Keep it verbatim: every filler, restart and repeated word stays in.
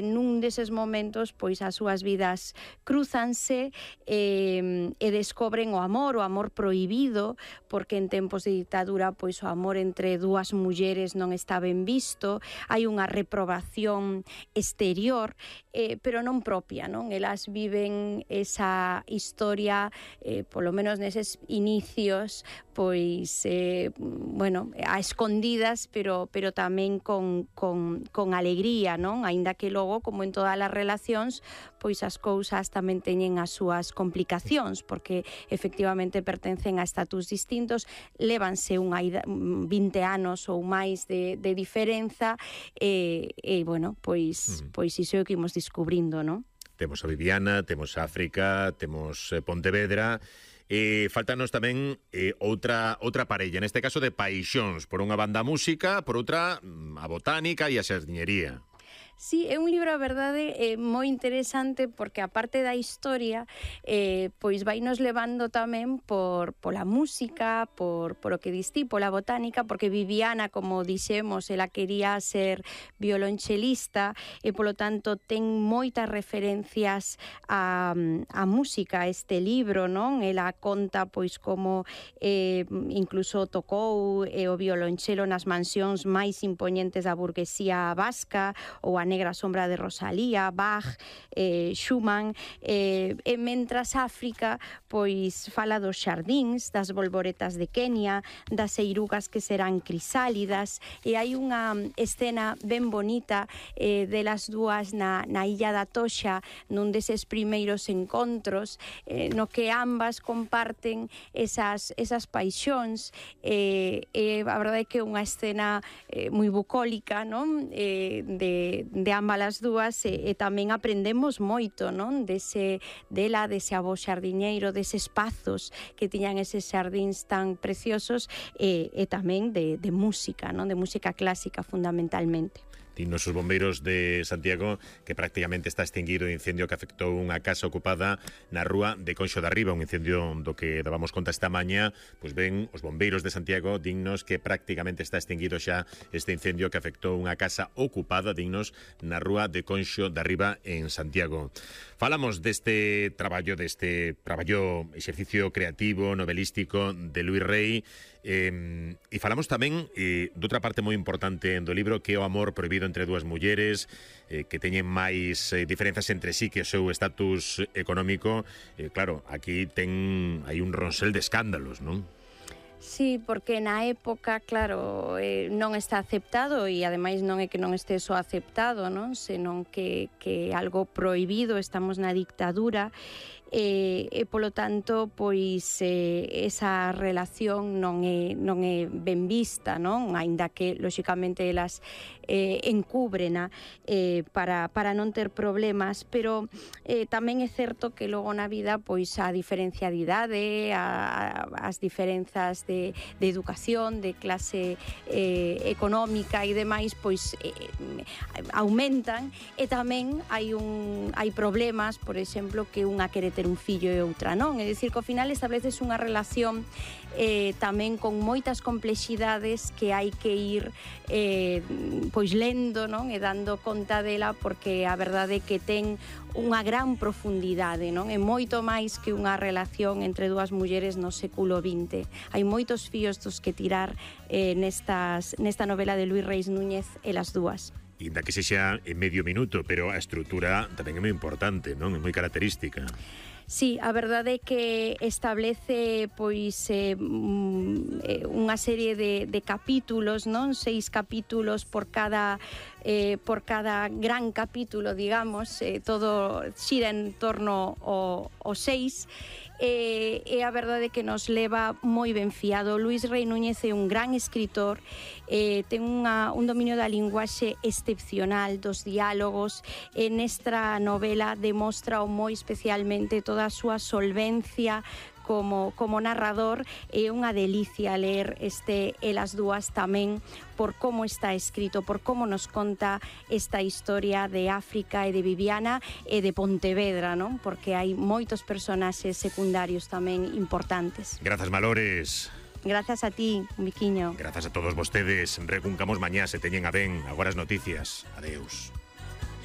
Nun deses momentos, pois as súas vidas cruzanse e, e descobren o amor, o amor prohibido, porque en tempos de ditadura pois o amor entre dúas mulleres non está ben visto, hai unha reprobación exterior, eh, pero non propia, non? Elas viven esa historia, eh, polo menos neses inicios, pois, eh, bueno, a escondidas, pero, pero tamén con, con, con alegría, non? Aínda que logo, como en todas as relacións, pois as cousas tamén teñen as súas complicacións, porque efectivamente pertencen a estatus distintos, lévanse unha vinte anos ou máis de, de diferenza, e, e bueno, pois, uh-huh. pois iso é o que imos descubrindo, non? Temos a Viviana, temos a África, temos Pontevedra. E faltanos tamén eh, outra outra parella, neste caso de paixóns, por unha banda a música, por outra a botánica e a xardiñería. Sí, é un libro, a verdade, eh, moi interesante porque a parte da historia eh, pois vai nos levando tamén por pola música, por, por o que distí, pola botánica, porque Viviana, como dixemos, ela quería ser violonchelista e polo tanto ten moitas referencias a, a música, este libro, non? Ela conta pois como eh, incluso tocou eh, o violonchelo nas mansións máis impoñentes da burguesía vasca, ou a Negra sombra de Rosalía, Bach, eh, Schumann, eh, e mentras África pois fala dos xardíns, das bolboretas de Kenia, das eirugas que serán crisálidas, e hai unha escena ben bonita eh, delas dúas na, na illa da Toxa, nun deses primeiros encontros, eh, no que ambas comparten esas, esas paixóns, e eh, eh, a verdade é que é unha escena eh, moi bucólica, non? Eh, de de ambas as dúas, e, e tamén aprendemos moito, non? Dese, dela, dese avó xardiñeiro, deses espazos que tiñan eses xardíns tan preciosos, e, e tamén de, de música, non? De música clásica fundamentalmente. Dinos os bombeiros de Santiago que prácticamente está extinguido o incendio que afectou unha casa ocupada na rúa de Conxo de Arriba, un incendio do que dábamos conta esta mañá. Pois ben, os bombeiros de Santiago dignos que prácticamente está extinguido xa este incendio que afectou unha casa ocupada, dignos, na rúa de Conxo de Arriba en Santiago. Falamos deste traballo, deste traballo, exercicio creativo, novelístico de Luís Rey, eh, e falamos tamén eh, doutra parte moi importante do libro, que é o amor prohibido entre dúas mulleres, eh, que teñen máis eh, diferenzas entre sí que o seu estatus económico. Eh, claro, aquí ten hai un ronsel de escándalos, non? Sí, porque na época, claro, eh, non está aceptado, e ademais non é que non este só aceptado, non? Senón que, que algo prohibido, estamos na dictadura, e, e polo tanto, pois eh, esa relación non é, non é ben vista, non? Aínda que, lóxicamente, elas eh, encúbrena eh, para, para non ter problemas, pero eh, tamén é certo que logo na vida, pois a diferencia de idade, a, a, as diferenzas de, de educación, de clase eh, económica e demais, pois eh, aumentan, e tamén hai un hai problemas, por exemplo, que unha quere ter un fillo e outra non, é dicir, que ao final estableces unha relación eh, tamén con moitas complexidades que hai que ir eh, pois lendo, non? E dando conta dela, porque a verdade é que ten unha gran profundidade, non? É moito máis que unha relación entre dúas mulleres no século vinte. Hai moitos fíos dos que tirar eh, nestas, nesta novela de Luís Reis Núñez, Elas dúas. Inda que sexa en medio minuto, pero a estrutura tamén é moi importante, non? É moi característica. Sí, a verdade é que establece pois eh, unha serie de, de capítulos, non? Seis capítulos por cada eh, por cada gran capítulo, digamos, eh, todo xira en torno ao, ao seis. E, e a verdade é que nos leva moi ben fiado. Luís Rei Núñez é un gran escritor, eh, ten unha, un dominio da linguaxe excepcional, dos diálogos, e nesta novela demostra moi especialmente toda a súa solvencia como, como narrador. É unha delicia ler este Elas dúas tamén por como está escrito, por como nos conta esta historia de África e de Viviana e de Pontevedra, non? Porque hai moitos personaxes secundarios tamén importantes. Grazas, Malores. Grazas a ti, un biquiño. Grazas a todos vostedes. Recuncamos mañá, se teñen a ben. Agora as noticias. Adeus.